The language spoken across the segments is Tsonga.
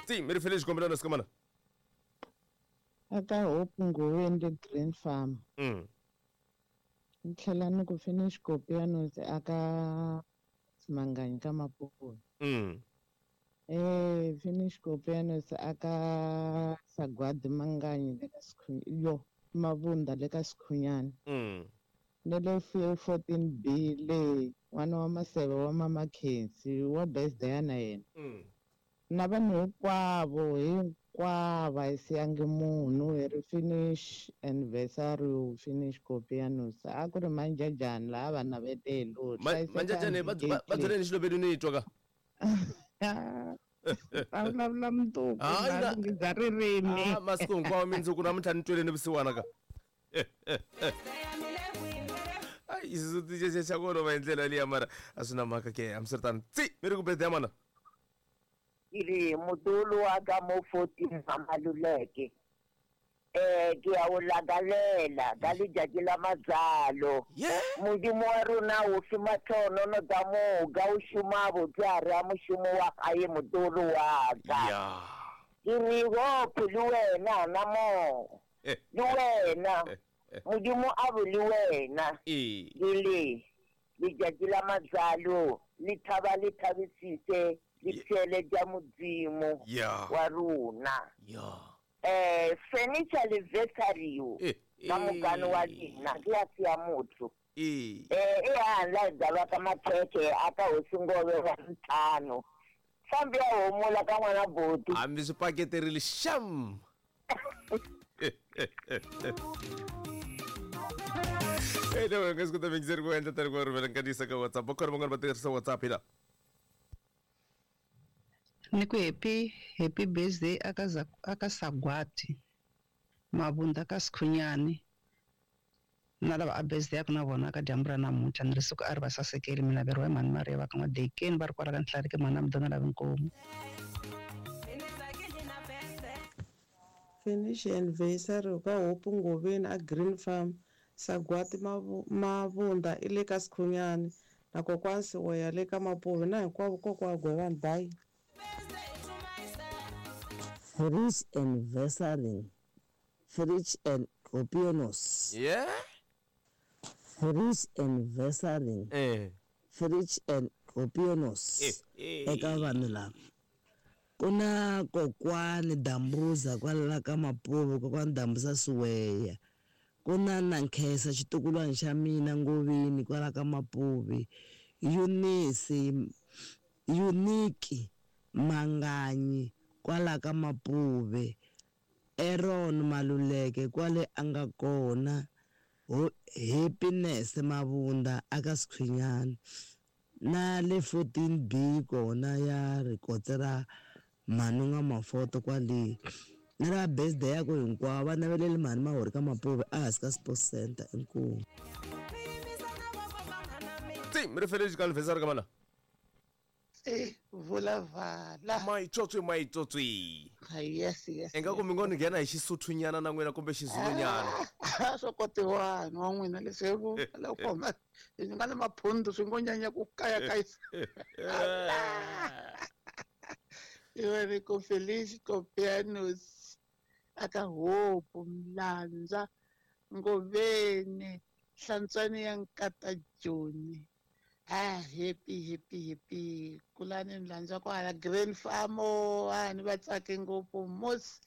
Tsi mi ri fele xikombelano sikamana. Aka Hope Ngoveni le Green Farm. Ni tlhela ni ku finish Kopianos aka Manganyi ka Mapuve. Finish Kopianos aka Sagwadi Manganyi le ka yo Mavunda le ka Sikhunyani. Ne le 14B le n'wana wa Maseve wa Mama Khensi wa birthday na yena. Na vanhu hinkwavo hinkwavo a hi siyangi munhu hi ri finish anniversary finish Kopianos a ku ri manjajani laha va navetelo. Manjajani va byeleni xilobeni ni twa ka. Va vulavula mundzuku bya ririmi. Masiku hinkwawo mindzuku namuntlha ni tweleni vusiwana ka. Ai xisuthu xa ku olova hi ndlela liya mara a swi na mhaka ke hambiswiritano. Tsi mi ri ku birthday ya mana. Ke re motolo wa ka mo 14 Maluleke. Ke ya o lakalela ka letšatši la matsalo. Modimo wa rona o šoma tlhonono ka moka, o šoma botse a re a mošomo wa gae motolo wa ka. Ke re Hope le wena na mo. Le wena Modimo a bo le wena. Ke le letšatši la matsalo le thaba le thabisise le pšele tša Modimo wa rona. Furniture le vesario ka mokane wa lena ke ya sia motho. E handla hi byalwa ka makhekhe a ka hosi Ngove wa ntlhanu. Fambi ya homula ka n'wana boti. Hambi swi paketerile xam. Anyway, nga swi kota mingiseri ku endla tani ku rhumela nkanisa ka WhatsApp. Va kona van'wana va tirhisa WhatsApp hi la. Ni ku happy happy birthday aka aka Sagwati Mabunda ka Sikhunyani na lava a birthday ya ku na vona ka dyambu ra namuntlha ni ri siku a ri va sasekeli mi naveriwa hi mhani Mariya va ka N'wa-Dekeni va ri kwala ka Nhlariki mhani Amdona lavi nkomu. Finish anniversary ka Hope Ngoveni a Green Farm, Sagwati Mavunda i le ka Sikhunyani na kokwani Siweya le ka Mapuve na hinkwavo kokwa Gwevani bye. Fridge anniversary, fridge and Kopianos. Fridge anniversary, fridge and Kopianos eka vanhu lava. Ku na kokwani Dambuza kwala ka Mapuve, kokwani Dambuza Siweya. Ku na Nankhesa xitukulwana xa mina Ngoveni kwala ka Mapuve. Eunice Unique Manganyi kwala ka Mapuve. Aaron Maluleke kwale a nga kona. Happiness Mavunda aka Sikhunyani. Na le 14B kona ya rikotse ra Mhani N'wa-Mafoto kwale. Na lava birthday ya ku hinkwavo va naveleli mhani Mahori ka Mapuve ehansi ka Sports Center. Inkomu. Tsi mi ri fele xikalo vhesari ka mana. Vulavala. Maitsotsi maitsotsi. Yes yes. Ingaku mi ngo ni nghena hi Xisuthunyana na n'wina kumbe Xizulunyana. Swo kotiwani wa n'wina leswi ku loko ma hi nga na maphundu swi ngo nyanya ku kayakayisa. Iwe ri ku Felice Kopianos aka Hope Mlandza Ngoveni Hlantswani ya Nkata Joni. Happy happy happy kulani Mlandza kwala Green Farm ni va tsake ngopfu mos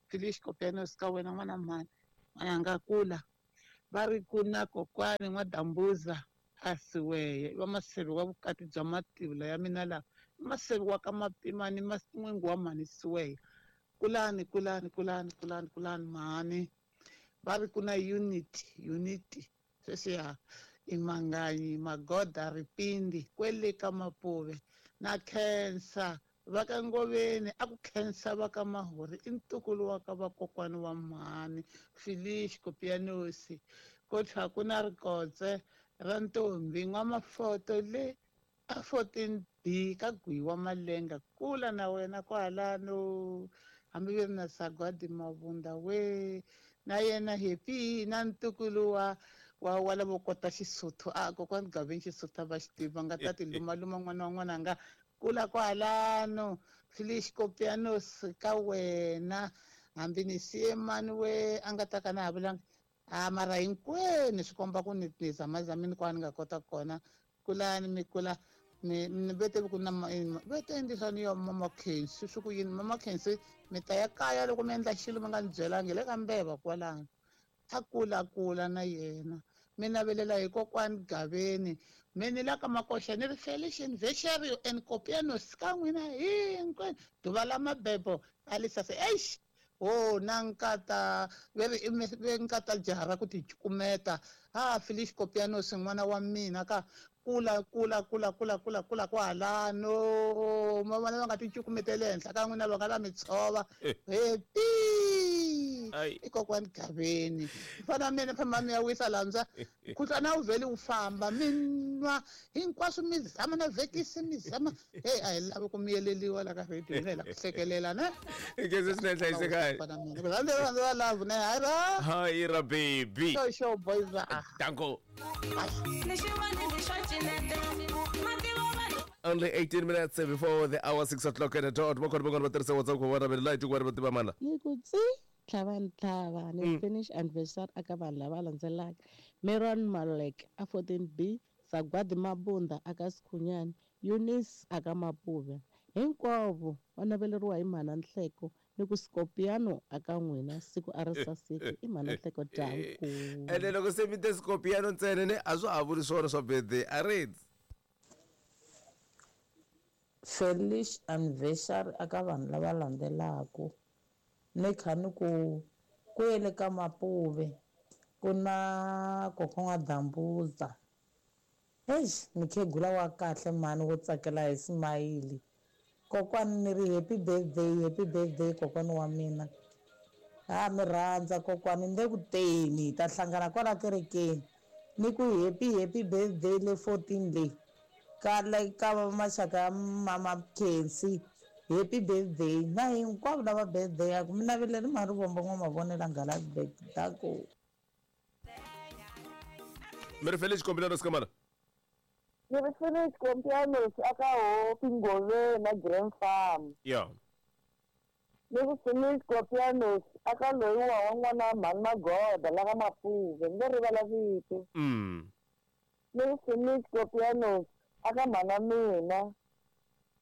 Felice Kopianos ka wena n'wana mhani n'wana nga kula va ri ku na kokwani n'wa Dambuza a Siweye va maseve wa vukati bya mativula ya mina lawa maseve wa ka Mapimani n'wingi wa mhani Siweye kulani kulani kulani kulani kulani mhani va ri ku na unity sweswiya i Manganyi Magoda Ripindi kwele ka Mapuve na khensa va ka Ngoveni a ku khensa va ka Mahori i ntukulu wa ka vakokwani wa mhani Felice Kopianos ko tlha ku na rikotse ra ntombi N'wa-Mafoto le a 14B ka Gwiwa Malenga kula na wena kwalano hambi ve ri na Sagwadi Mavunda we na yena happy na ntukulu wa wa lavo kota Xisuthu a kokwani Gaveni Xisuthu a va xi tiva nga ta ti lumaluma n'wana wa n'wana nga kula kwalano. Felice Copianos ka wena hambi ni siye mani we a nga ta ka na ha vulanga a mara hinkwenu swi komba ku ni zamazamini kwani nga kota kona kulani mi kula ni vete ku na vete endlisa ni yo mama Khensi swi ku yini mama Khensi mi ta ya kaya loko mi endla xilo mi nga ni byelangi le ka mbeva kwalano a kula kula na yena mi navelela hi kokwani Gaveni mi ni la ka Makoxa ni ri Felician Vesherio and Copianos ka n'wina hinkwenu duva la mabebo a lisase eish o na nkata ve ve nkata jaha ra ku ti cukumeta ha Felice Copianos n'wana wa mina ka kula kula kula kula kula kula kwalano ma vona va nga ti cukumeteli ehenhla ka n'wina va nga va mi tshova happy i kokwani Gaveni mfana mina famba mi ya wisa landza khuhlwana wu vheli wu famba mi nwa hinkwaswo mi zama na vhekisi mi zama hey a hi lavi ku miyeleliwa la ka radio hina hi la ku hlekelela ne Ngeze swinene hlayisekani. Rhandza love ne hayi ra Hayi ra baby. Show show boys Danko. Only 18 minutes before the hour 6 o'clock at the dot. Vakona vakona va tirhisa WhatsApp ku vona vele light ku va tiva mana. Ni ku tsi tlhava ni tlhava ni finish anniversary aka vanhu lava landzelaka Meron Malek a 14B Sagwadi Mabunda aka Sikhunyani Eunice aka Mapuve hinkwavo va naveleriwa hi mhana Nhleko ni ku Scorpiano aka n'wina siku a ri saseki i mhana Nhleko danku. Ene loko se mi te Scorpiano ntsena ne a swa ha vuli swona swa birthday a ri Felice anniversary aka vanhu lava landzelaka ni kha ni ku ku yele ka Mapuve ku na kokwana Dambuza eish mukhegula wa kahle mhani wo tsakela hi simayili kokwani ni ri happy birthday kokwani wa mina ha mi rhandza kokwani ni le ku teni hi ta hlangana kwala kerekeni ni ku happy birthday le 14 leyi ka le ka maxaka ya mama Khensi happy birthday na hinkwavo lava birthday yaku mi naveleri Marivombo n'wa Mavonela Nghalabek dako. Mi ri Felice Copianos kamana. Ni ri Felice Copianos aka Hope Ngoveni na Grand Farm. Yeah. Ni ri Felice Copianos aka loyi wa n'wana mhani Magoda la ka Mapuve ni rivala vito. Ni ri Felice Copianos aka mhana mina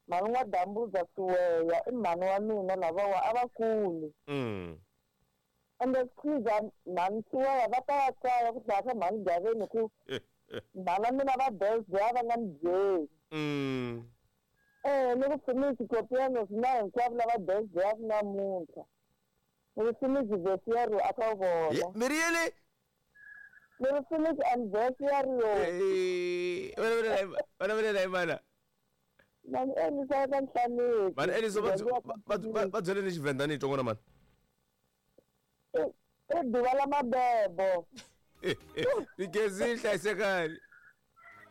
mhani n'wa Dambuza Siweya i mhani wa mina lavawa a va kuli. Ende khiza mhani Siweya va ta ya kaya ku dlaya ka mhani Gaveni ku mhana mina va birthday a va nga ni byeli. Ni ku Felice Copianos na hinkwavo lava birthday ya ku namuntlha ni ri Felice Vesiero aka vona. Mi ri yini? Ni ri Felice anniversary. Va navelela hi mana. Mani Elisa ka Nhlaneki. Mani Elisa va byele ni Xivenda ni twa n'wana mani. I duva la mabebo. Ni gezi hlayisekani.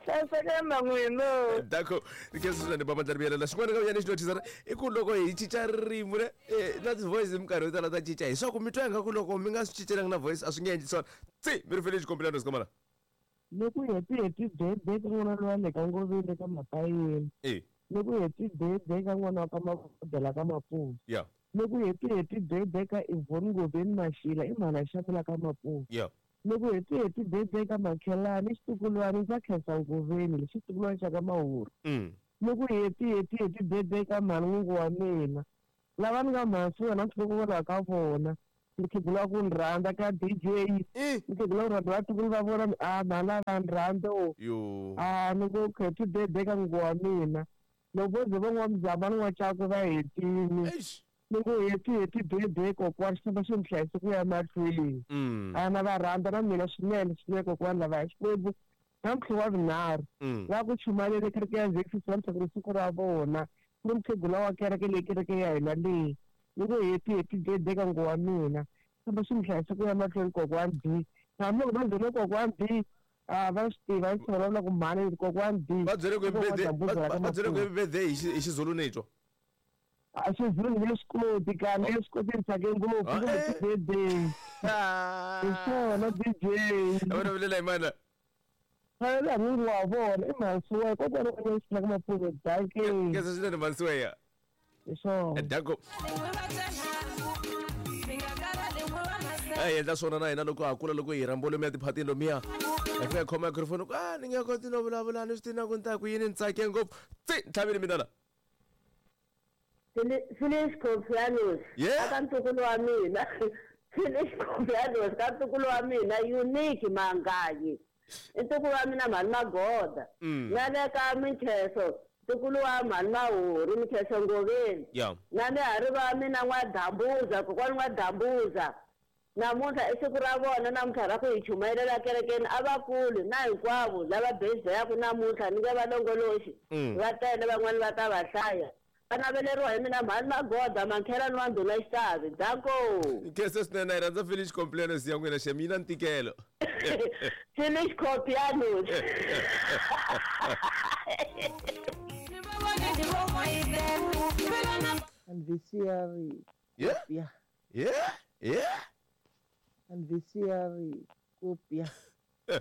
Hlayisekani na n'wina. Dako ni gezi swinene ba mandla riviyelela xin'wana ka ni xi notice i ku loko hi cinca ririmi ne na ti-voice hi minkarhi yo tala ta cinca hi swa ku mi twa ingaku loko mi nga swi cincelanga na voice a swi nge endli swona. Tsi mi ri Felice Copianos kamana. Ni ku happy birthday ka n'wana loyi a le ka Ngoveni ka Mapayeni. Ni ku happy birthday ka n'wana wa ka Magoda la ka Mapuve. Yeah. Ni ku happy birthday ka Yvonne Ngoveni Mashila i mhana Xamula ka Mapuve. Yeah. Ni ku happy birthday ka Makhelani xitukulwana xa Khensa Ngoveni xitukulwana xa ka Mahuru. Ni ku happy birthday ka mhani n'wingi wa mina lava ni nga mhani wena ntlhoko ka vona mukhegula ku ni rhandza ka DJ mukhegula ku rhandza vatukulu va vona a mhani va ni rhandza a ni ku happy birthday ka n'wingi wa mina loko vo ze va n'wa muzama ni n'wa Cakwe va hetini ni ku happy birthday kokwani xi famba xi mi hlayise ku ya mahlweni a na va rhandza na mina swinene swinene kokwani lava hi Xikwembu namuntlha wa vunharhu va ku chumayeleni kereke ya Zexis namuntlha ku ri siku ra vona ku ri mukhegula wa kereke leyi kereke ya hina leyi ni ku happy birthday ka n'wingi wa mina famba xi mi hlayise ku ya mahlweni kokwani B hambi loko va byele kokwani B a va swi tiva va swi vulavula ku mhani kokwani B va byele ku happy birthday hi Xizulu ni twa a Xizulu ni swi koti kambe swi koti ni tsake ngopfu ku happy birthday hi swona DJ va navelela hi mana la n'wingi wa vona i mhani Siweya kokwani wa mina ka Mapuve danke. Khensa swinene mhani Siweya. Hi swona. Danko. A hi endla swona na hina loko ha kula, loko hi rhambiwa lomuya tiphatini lomuya, hi fika hi khoma microphone ku a ni nge koti no vulavula, ni swi tivi na ku ni ta ku yini, ni tsake ngopfu. Tsi ntlhavini mina la. Phyllis Confianos. Yeah. Aka ntukulu wa mina. Phyllis Confianos ka ntukulu wa mina Unique Manganyi. I ntukulu wa mina Mhani Magoda. Na le ka Minkheso, ntukulu wa Mhani Mahuri, Minkheso Ngoveni. Yeah. Na le ha ri va mina N'wa-Dambuza, kokwani N'wa-Dambuza. Namuntlha i siku ra vona namuntlha ra ku hi chumayelela kerekeni, a va kuli na hinkwavo lava birthday-aku namuntlha, ni nge va longoloxi. Va tele van'wani va ta va hlaya. Va naveleriwa hi mina Mhani Magoda, Mankhelani wa Ndhuna Xitavi. Danko. Nkhensa swinene, hi rhandza Felix Compliance ya n'wina xem, yi na ntikelo. Felix Compliance. Anniversary. Yeah. Yeah. Yeah. Yeah. Anniversary kopia.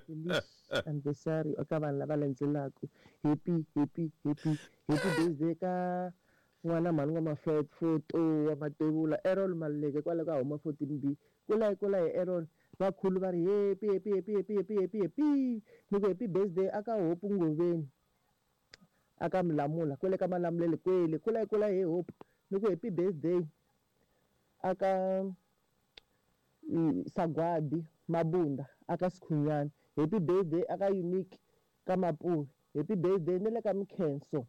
Felix anniversary eka vanhu lava landzelaka. Happy, happy, happy, happy birthday ka n'wana mhani wa Mafet, photo wa Matevula, Errol Maluleke kwale ka huma 14B. Kula kula hi Errol. Vakhulu va ri happy, happy, happy, happy, happy, happy, happy. Ni ku happy birthday aka Hope Ngoveni. Aka Mlamula, kwele ka Malamulele kwele. Kula kula hi Hope. Ni ku happy birthday aka Sagwadi Mabunda aka Sikhunyana. Happy birthday aka Unique ka Mapuve. Happy birthday ni le ka Mkhenso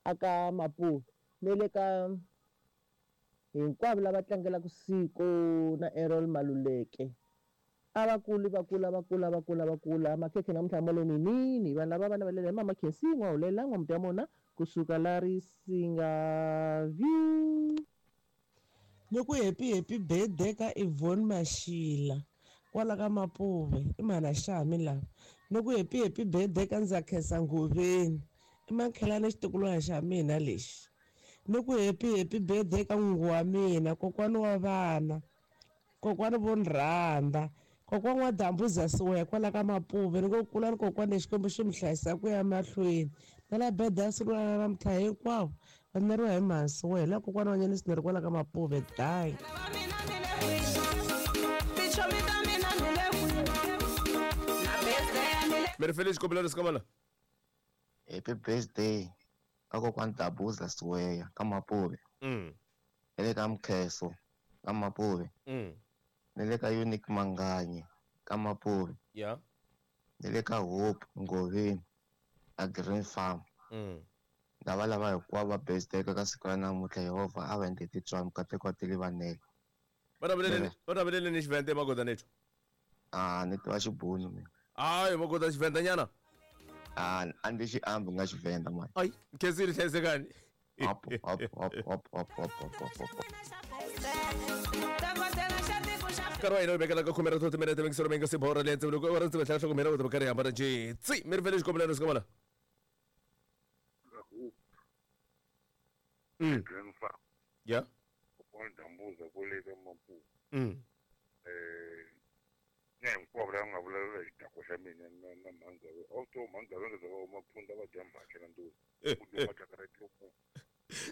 aka Mapuve. Ni le ka hinkwavo lava tlangelaka siku na Errol Maluleke. A va kuli, va kula, va kula, va kula, va kula. Makhekhe namuntlha ma lo ninini. Vanhu lava va navelela hi Mama Khensi, N'wahulela, N'wamuti ya mona, kusuka la Risinga View. Ni ku happy, happy birthday ka Yvonne Mashila kwala ka Mapuve, i mhana Xami lava. Ni ku happy, happy birthday ka Ndzakhensa Ngoveni, i Mankhelani xitukulwana xa mina lexi. Ni ku happy, happy birthday ka n'wingi wa mina, kokwani wa vana, kokwani vo ni rhandza, kokwani wa Dambuza Siweya kwala ka Mapuve. Ni ku kulani kokwani, Xikwembu xi mi hlayisa ku ya mahlweni. Na la birthday ya siku ra namuntlha hinkwavo va neriwa hi mhani Siweya, la kokwani wa Nyanisi ni ri kwala ka Mapuve. Dai. Mi ri Felix kombela ri sikamala. Happy birthday ka kokwani Dambuza Siweya ka Mapuve. Ni le ka Mkheso ka Mapuve. Ni le ka Unique Manganyi ka Mapuve. Yeah. Ni le ka Hope Ngoveni a Green Farm. Lava lava hinkwavo va birthday ka siku ra namuntlha, Yehovha a va endle titswalo, mikateko wa tilivanele. Va navelele ni Xivenda Magoda nethu. A ni tiva Xibunu mina. Hayi Magoda Xivenda nyana. A a ndzi xi ambi nga Xivenda mani. Ai, Khensile hlayisekani. Hop hop hop hop hop hop hop hop hop. Nkarhi wa hina wu vekela ka khume ra 30 minete mingiselo mi nga si borha leyi ntsevuloko wa ri tlhela hloko mina u ta karhi hambana njhe. Tsi mi ri Felix kombela sikamala. Green Farm. Yeah. Kokwani Dambuza kwale ka Mapuve. Na hinkwavo lava nga vulavula hi xidakwa xa mina na Mhangave. A wu to Mhangave nga za va huma phunda va dya mbhaxa na nduzi. Ku dyiwa matlakara ya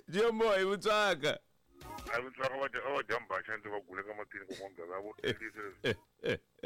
Jombo hi vutswaka. A vutswaka va dya a va dya mbhaxa ndzi va guleka matini kokwani Gava vo tirhisa leswi.